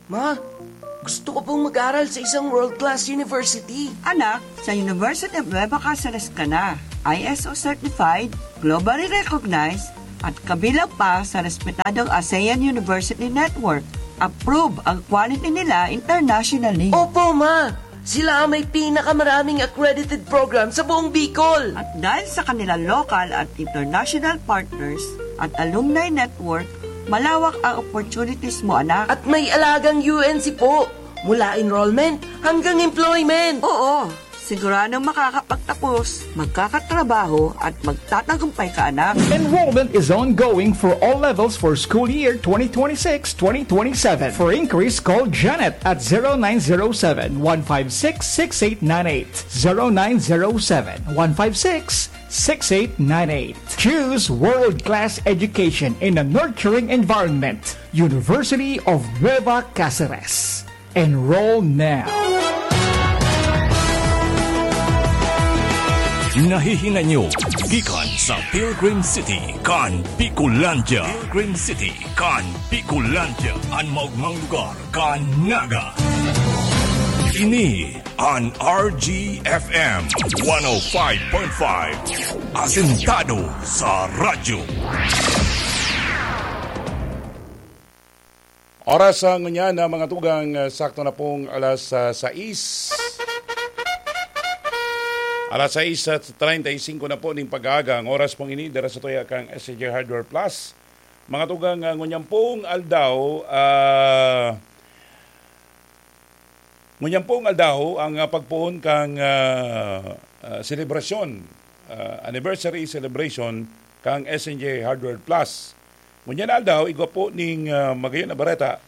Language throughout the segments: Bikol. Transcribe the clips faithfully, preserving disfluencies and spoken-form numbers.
Ma, gusto ko pong mag-aral sa isang world-class university. Anak, sa University of Nueva Caceres ka na. I S O certified, globally recognized, at kabilang pa sa respetadong ASEAN University Network. Approve ang quality nila internationally. Opo, ma! Sila ang may pinakamaraming accredited program sa buong Bicol. At dahil sa kanilang local at international partners at alumni network, malawak ang opportunities mo, anak. At may alagang U N C po, mula enrollment hanggang employment. Oo, siguradong makakapagtapos, magkakatrabaho at magtatagumpay ka, anak. Enrollment is ongoing for all levels for school year twenty twenty-six twenty twenty-seven. For inquiries, call Janet at zero nine zero seven, one five six, six eight nine eight. zero nine zero seven, one five six, six eight nine eight. Choose world-class education in a nurturing environment. University of Nueva Caceres. Enroll now. Nahihinanyo gikan sa Pilgrim City kan Bicolandia. Pilgrim City kan Bicolandia, an maogmang lugar kan Naga. Ini an R G F M one oh five point five, asentado sa radyo. Oras sa ngunyan na mga tugang, ah, sakto na pong alas ah, sais. Alas sais at treinta y cinco na po ning pag-aaga. Ang oras pong ini, dara sa tuya kang S N J Hardware Plus. Mga tugang, ah, ngunyan pong aldaw, ah, ngunyan pong aldaw ang ah, pagpoon kang ah, ah, selebrasyon, ah, anniversary celebration kang S N J Hardware Plus. Ngunyan na aldaw, igwa po ning ah, magayon na bareta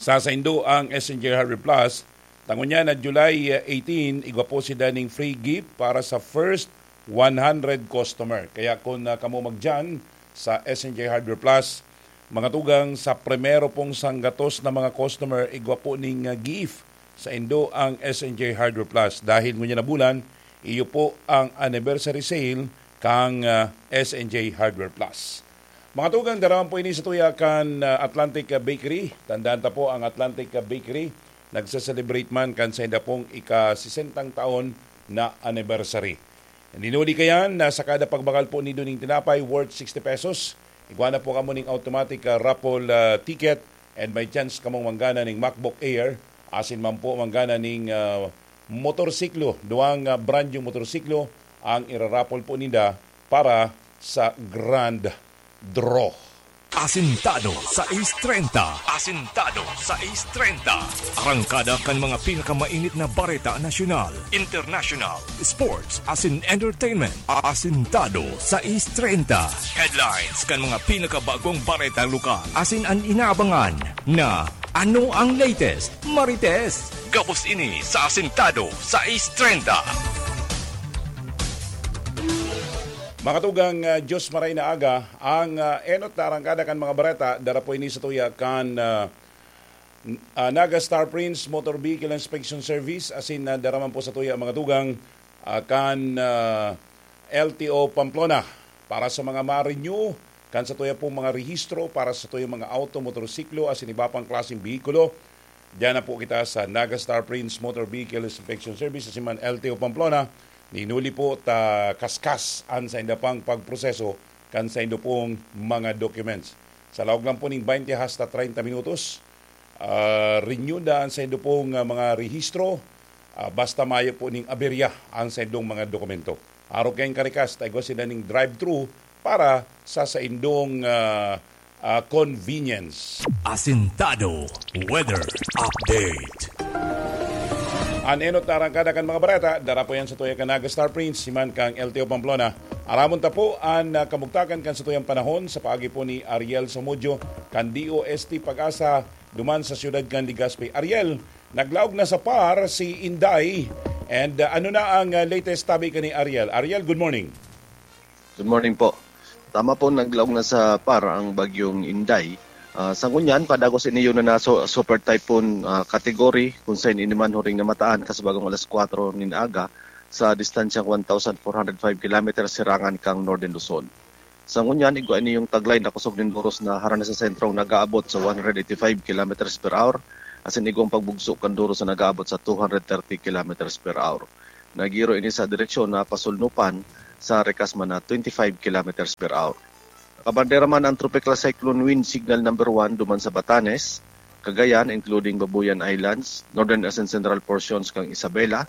sa saindo ang S N J Hardware Plus. Tangon niya na July eighteen, igwa po si daning free gift para sa first one hundred customer. Kaya kung ah, kamo magdiyan sa S N J Hardware Plus, mga tugang sa primero pong sanggatos na mga customer, igwa po ning ah, gift sa indo ang S N J Hardware Plus. Dahil ngunyan na bulan, iyo po ang anniversary sale kang ah, S N J Hardware Plus. Mga tugang, daraman po ini sa tuya kan ah, Atlantic ah, Bakery. Tandaan ta po ang Atlantic ah, Bakery. Nagse-celebrate man kan sainda pong ika-sesentang taon na anniversary. Dinuli kayan na sa kada pagbakal po nindo ning tinapay worth sixty pesos, igwa na po kamo ning automatic ah, raffle ah, ticket and may chance kamong manggana ning MacBook Air, asin man po manggana ning ah, motorsiklo, duwang ah, brand yung motorsiklo ang iraraffle po ninda para sa grand draw. Asintado sais treinta. Asintado sais treinta. Arangkada kan mga pinakamainit na bareta nasyonal, international, sports, asin entertainment. Asintado sais treinta. Headlines kan mga pinakabagong bareta lokal. Asin an inaabangan na ano ang latest, Marites. Gabos ini sa Asintado sais treinta. Mga tugang, ah, Diyos maray na aga, ang ah, enot na arangkada kan mga bareta, dara po ini sa tuya kan ah, n- ah, Naga Star Prince Motor Vehicle Inspection Service, asin na dara man po sa tuya mga tugang ah, kan ah, L T O Pamplona. Para sa mga ma-renew, kan sa tuya pong mga rehistro, para sa tuya mga auto, motorsiklo, asin iba pang klaseng behikulo, diyan na po kita sa Naga Star Prince Motor Vehicle Inspection Service, asin man L T O Pamplona. Ninuli po ta kaskas an sainda pang pagproseso kan saindo pong mga documents. Sa laog lang po ning twenty hasta treinta minutos, ah, renew na an saindo pong ah, mga rehistro, ah, basta mayo po ning aberya ang saindong mga dokumento. Arog kayong karikas, ta igwa sinda ning drive-thru para sa saindong ah, ah, convenience. Asintado Weather Update. An enot na arangkada kan mga bareta, dara po yan sa tuya kan Naga Star Prince, siman kang L T O Pamplona. Aramon ta po an ah, kamugtakan kan sa tuyang panahon sa paagi po ni Ariel Samudyo kan D O S T Pag-asa duman sa siyudad kan Legazpi. Ariel, naglaog na sa par si Inday. And ah, ano na ang ah, latest tabi ka ni Ariel? Ariel, good morning. Good morning po. Tama po, naglaog na sa par ang bagyong Inday. Ah, sa ngunyan, padagos ini yun na so, super typhoon ah, category, kung saan ini man huring namataan kasabagong alas kwatro nin aga sa distansyang one thousand four hundred five kilometers sirangan kang Northern Luzon. Sa ngunyan, igwa ini yung taglay na kusog nin duros na harani sa sentrong nag-aabot sa one hundred eighty-five kilometers per hour, asin igwang pagbugso kan duros na nag-aabot sa two hundred thirty kilometers per hour. Nagiro ini sa direksyon na pasulnupan sa rekas man na twenty-five kilometers per hour. Nakabandera man ang Tropical Cyclone Wind Signal Number One duman sa Batanes, Cagayan, including Babuyan Islands, northern asin central portions kang Isabela,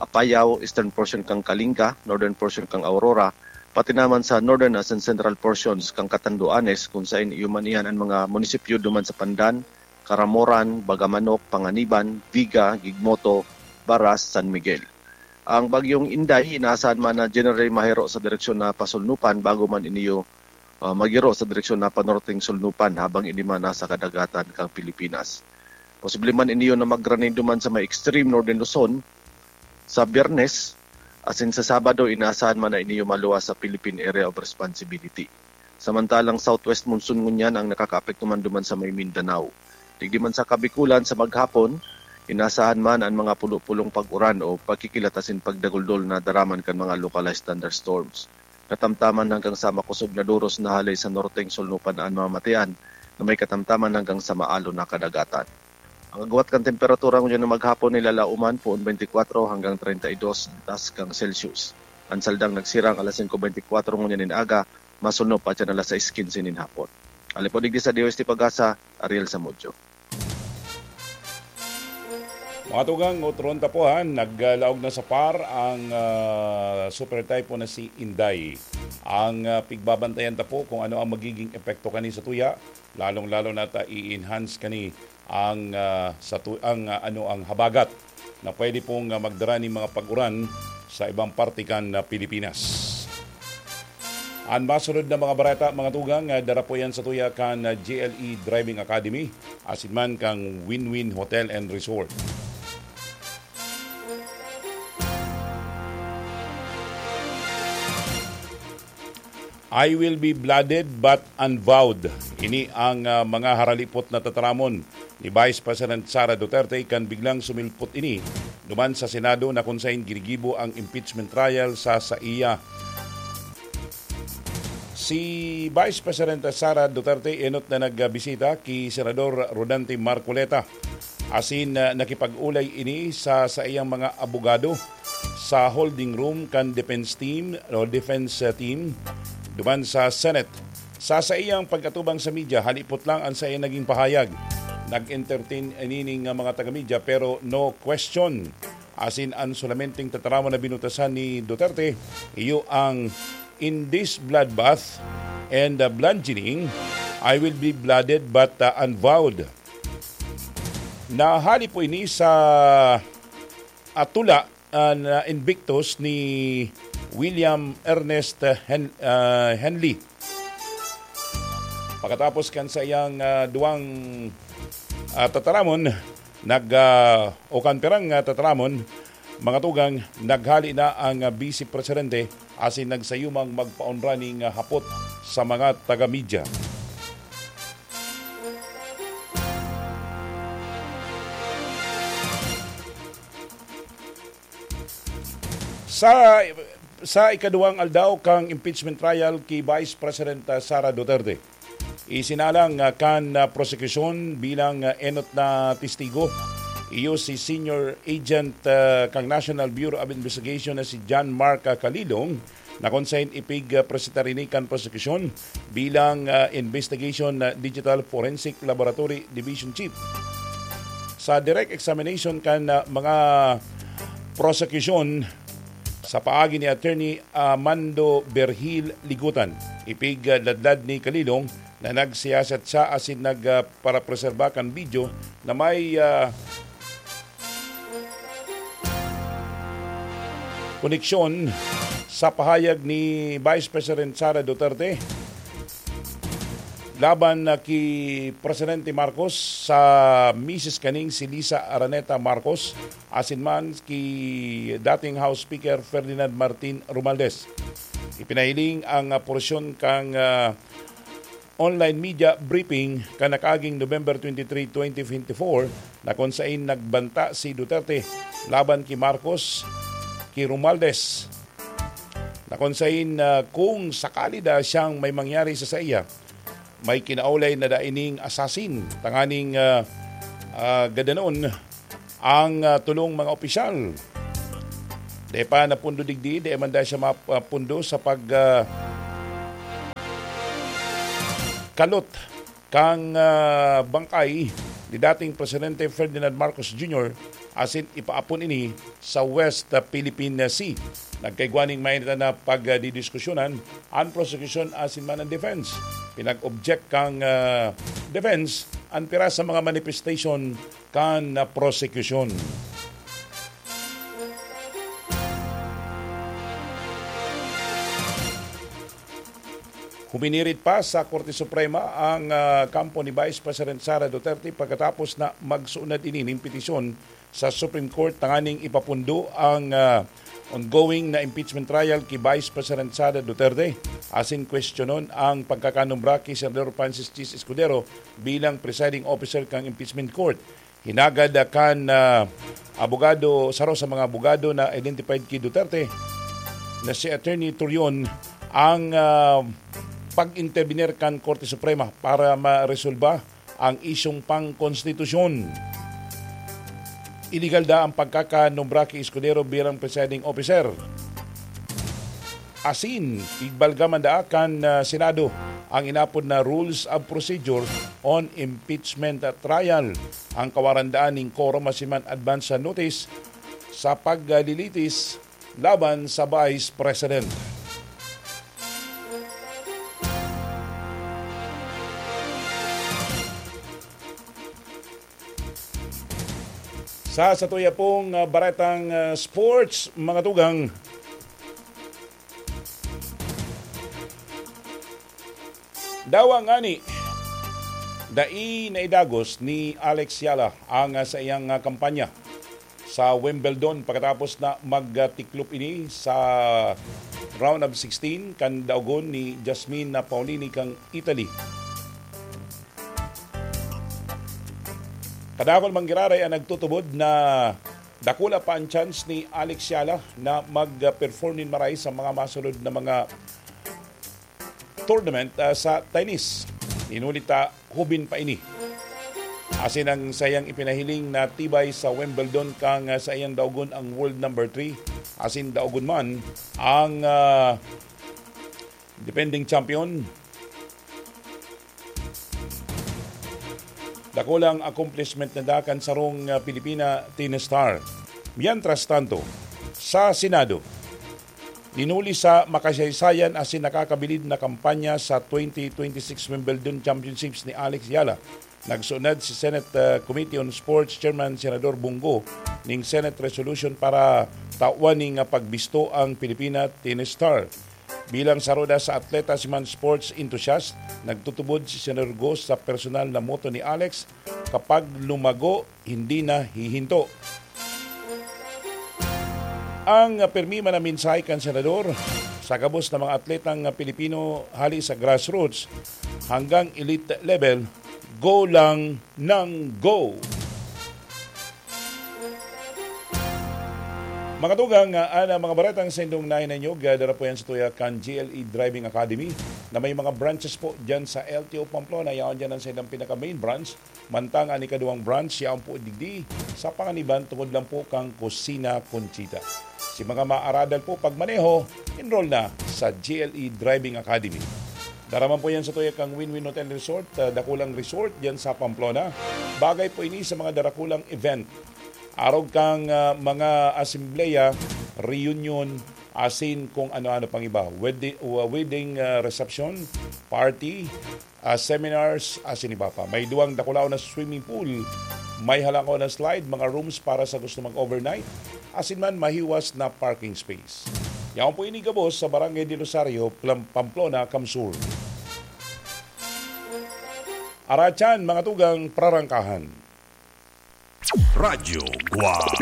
Apayao, eastern portion kang Kalinga, northern portion kang Aurora, pati naman sa northern asin central portions kang Catanduanes, kung sain iyo man iyan ang mga munisipyo duman sa Pandan, Caramoran, Bagamanok, Panganiban, Viga, Gigmoto, Baras, San Miguel. Ang bagyong Inday, inaasahan man na generally mahiro sa direksyon na pasulnupan bago man iniyo, ah, magiro sa direksyon na panorteng sulnupan habang ini man nasa kadagatan kang Pilipinas. Posible man iniyo na magrani duman sa may extreme northern Luzon sa Biyernes, asin sa Sabado, inaasahan man na iniyo maluwas sa Philippine Area of Responsibility. Samantalang southwest monsoon ngunyan ang nakakaapekto man duman sa may Mindanao. Digdi man sa Kabikulan, sa maghapon, inaasahan man ang mga pulo-pulong pag-uran o pagkikilat asin pagdaguldol na daraman kan mga localized thunderstorms. Katamtaman hanggang sa makosog na duros na hale sa norteng sulnupan an mamatian na may katamtaman hanggang sa maalon na kadagatan. Ang agwat kan temperatura ngunyan na maghapon nilalauman poon twenty-four hanggang thirty-two ang taas kang Celsius. Ang saldang nagsirang alas singko bentikuwatro ngunyan nin aga, masunod pa dyan alas sais quince nin hapon. Alipod digdi sa D O S T Pag-asa, Ariel Samudio. Mga tugang, otron tapuhan, naglaog na sa par ang, ah, super typhoon na si Inday. Ang, ah, pigbabantayan ta po kung ano ang magiging epekto kani sa tuya, lalong-lalo na ta i-enhance kani ang, ah, sa tu-, ang, ah, ano, ang habagat na pwede pong, ah, magdara nin mga pag-uran sa ibang parte kan, ah, Pilipinas. An masunod na mga bareta, mga tugang, ah, dara po yan sa tuya kan, ah, G L E Driving Academy, asin man kang Win-Win Hotel and Resort. "I will be blooded but unbowed." Ini ang, ah, mga haralipot na tataramon ni Vice President Sara Duterte kan biglang sumilpot ini duman sa Senado na kun saen ginigibo ang impeachment trial sa saiya. Si Vice President Sara Duterte enot na nagbisita ki Senador Rodante Marcoleta, asin, ah, nakipag-olay ini sa saiyang mga abogado sa holding room kan defense team o defense, ah, team duman sa Senate. Sa saiyang pag-atubang sa media, halipot lang an saiyang naging pahayag. Nag-entertain ini ning, ah, mga taga-media, pero no question. Asin an solamenteng tataramon na binutasan ni Duterte, iyo ang, "In this bloodbath and, uh, bludgeoning, I will be blooded but, uh, unbowed." Nahali po ini sa, ah, tula, ah, na Invictus ni William Ernest, ah, Hen-, ah, Henley. Pagkatapos kan saiyang, ah, duwang, ah, tataramon, nag, ah, o kan pirang, ah, tataramon, mga tugang, naghali na ang, ah, Vice Presidente asin nagsayumang magpaunra ning, ah, hapot sa mga taga-media. Sa, sa ikaduwang aldaw kan impeachment trial ki Vice President, ah, Sara Duterte, isinalang, ah, kan, ah, prosekusyon bilang, ah, enot na testigo. Iyo si Senior Agent, ah, kan National Bureau of Investigation na si John Mark, ah, Calilong, na kun saen ipig, ah, presentar ini kan prosekusyon bilang, ah, Investigation, ah, Digital Forensic Laboratory Division Chief. Sa direct examination kan, ah, mga prosekusyon sa paagi ni Attorney Armando Berhil Ligutan, ipig, ah, ladlad ni Calilong na nagsiyasat siya asin nag, ah, parapreserba kan video na may, ah, koneksyon sa pahayag ni Vice President Sara Duterte laban na ki Presidente Marcos sa misis kaning si Liza Araneta Marcos asin man ki dating House Speaker Ferdinand Martin Romualdez. Ipinahiling ang, ah, porsyon kan, ah, online media briefing kan nakaaging November twenty-three, twenty twenty-four, na kun saen nagbanta si Duterte laban ki Marcos, ki Romualdez, na kung sain, ah, kung sakali da siyang may mangyari sa saiya, may kinaulay na dai ning assassin, tanganing, ah, ah, gadanon ang, ah, tulong mga opisyal. Di pa napundo digdi, di man dahil siya mapundo sa pag, ah, kalot kan, ah, bangkay ni dating Presidente Ferdinand Marcos Junior asin ipaapon ini sa West, ah, Philippine Sea. Nagkaigwa ning mainit na pagdidiskusyonan an prosekusyon asin man an defense. Pinag-object kan, ah, defense an pira sa mga manifestation kan, ah, prosekusyon. Huminirit pa sa Korte Suprema ang, ah, kampo ni Vice President Sara Duterte pagkatapos na magsuunad ini nin petisyon sa Supreme Court tanganing ipapundo ang, ah, ongoing na impeachment trial ki Vice President Sara Duterte asin kwestiyonon ang pagkakanumbra ki Senador Francis Chiz Escudero bilang presiding officer kan impeachment court. Hinagad, ah, kan, ah, abogado, saro sa mga abogado na identified ki Duterte na si Attorney Torion ang, ah, pag-intervenir kan Korte Suprema para maresolba ang isyung pangkonstitusyon. Iligal da ang pagkakanumbra ki Escudero bilang presiding officer. Asin, igbalga man daa kan, ah, Senado ang inapod na Rules of Procedure on Impeachment Trial. Ang kawaran daan nin quorum asin man advance notice sa paglilitis laban sa Vice President. Sa satuya pong, ah, baretang, ah, sports, mga tugang, dawa ngani, dai naidagos ni Alex Eala ang, ah, saiyang, ah, kampanya sa Wimbledon pagkatapos na magtiklop ini sa round of sixteen kan daogon ni Jasmine Paolini kan Italy. Kadakul man giraray an nagtutubod na dakula pa an chance ni Alex Eala na mag-perform nin maray sa mga masunod na mga tournament, ah, sa tennis. Inulit ta, hubin pa ini. Asin ang saiyang ipinahiling na tibay sa Wimbledon kan, ah, saiyang daogon ang world number three. Asin daogon man ang, ah, defending champion. Dakulang accomplishment na da kan sarong, ah, Pilipina tennis star. Mientras tanto, sa Senado, dinuli sa makasaysayan asin nakakabilib na kampanya sa twenty twenty-six Wimbledon Championships ni Alex Eala, nagsunod si Senate, ah, Committee on Sports Chairman Senador Bong Go ning Senate resolution para tawan ning, ah, pagbisto ang Pilipina tennis star. Bilang saro da sa atleta si man sports enthusiast, nagtutubod si Senador Go sa personal na motto ni Alex, "Kapag lumago, hindi na hihinto." Ang pirmi man na mensahe kan Senador sa gabos na mga atletang Pilipino hali sa grassroots hanggang elite level, "Go lang ng go." Mga tugang, ah, an mga baretang saindong nahinanyog, ah, dara po yan sa tuya kan G L E Driving Academy na may mga branches po dyan sa L T O Pamplona. Yaon dyan ang saindang pinaka-main branch. Mantang an ikaduwang branch, yaon po digdi sa Panganiban, tungod lang po kan Kusina Conchita. Si mga maaradal po pagmaneho, enroll na sa G L E Driving Academy. Dara man po yan sa tuya kan Win-Win Hotel Resort, ah, dakulang resort dyan sa Pamplona. Bagay po ini sa mga darakulang event. Arog kan, ah, mga asembleya, reunion, asin kung ano-ano pang iba. Wedi-, uh, wedding, ah, reception, party, ah, seminars, asin iba pa. May duwang dakulaon na swimming pool, may halangkaw na slide, mga rooms para sa gusto mag-overnight, asin man mahiwas na parking space. Yaon po ini gabos sa Barangay de Rosario, Plam-, Pamplona, Camsur. Aratyan, mga tugang, prarangkahan. Radyo Guwang.